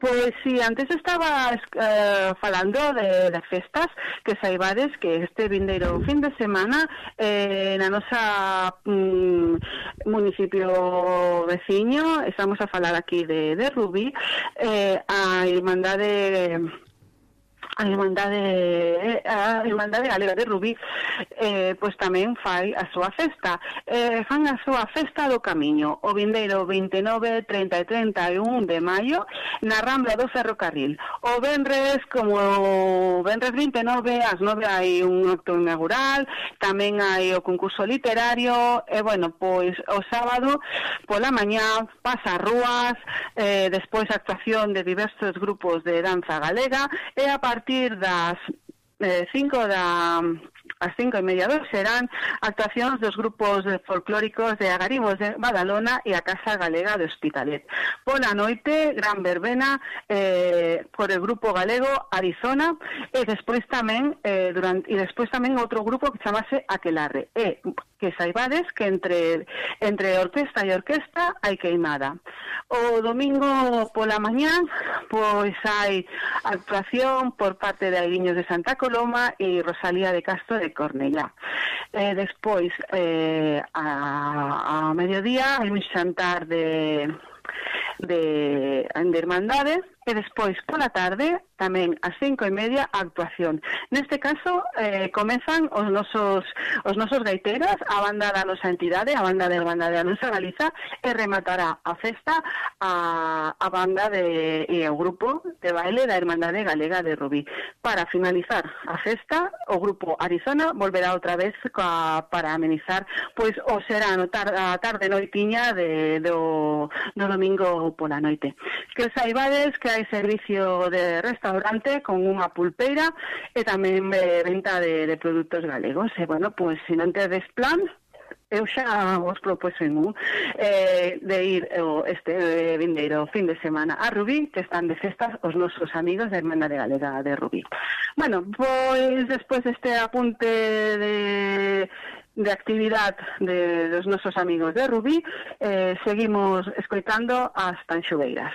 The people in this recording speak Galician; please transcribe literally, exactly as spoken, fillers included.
Pois si, sí, antes estaba eh, falando de, de festas que saibades que este vindeiro fin de semana eh, na nosa mm, municipio veciño, estamos a falar aquí de, de Rubí, eh, a Irmandade a Irmandade a Irmandade Galega de Rubí eh, pois tamén fai a súa festa eh, fan a súa festa do Camiño o vindeiro vinte e nove, trinta e trinta e un de maio na Rambla do Ferrocarril. O venres, como o venres vinte e nove ás nove hai un acto inaugural, tamén hai o concurso literario e bueno, pois o sábado pola mañá pasa rúas, eh, despois a actuación de diversos grupos de danza galega e a partir A partir das eh, cinco da as cinco e media dos serán actuacións dos grupos folclóricos de Agaribos de Badalona e a Casa Galega de Hospitalet. Pola noite, gran verbena eh, por el grupo galego Arizona e despois tamén eh, durante e despois tamén outro grupo que chamase Aquelarre. E que saibades que entre entre orquesta e orquesta hai queimada. O domingo pola mañá pois hai actuación por parte de Aguiños de Santa Coloma e Rosalía de Castro de Cornellá. Eh, despois eh, a, a mediodía hai un xantar de de, de Irmandade e despois pola tarde tamén ás cinco e media a actuación. Neste caso eh, comezan os nosos os nosos gaiteros, a banda da nosa entidade, a banda de Irmandade da nosa Galiza, e rematará a festa a, a banda de, e o grupo de baile da Irmandade Galega de Rubí. Para finalizar a festa, o grupo Arizona volverá outra vez ca, para amenizar pois o será no tar, a tarde noitiña de, do, do domingo pola noite. Que saibades que hai servicio de restaurante con unha pulpeira e tamén de venta de, de produtos galegos. E, bueno, pois, se non tedes plan, eu xa vos propuxen un eh, de ir o, este eh, vindeiro fin de semana a Rubí, que están de festas os nosos amigos da Irmandade Galega de Rubí. Bueno, pois, despois deste apunte de de actividad de, dos nosos amigos de Rubí, eh, seguimos escoitando as Tanxugueiras.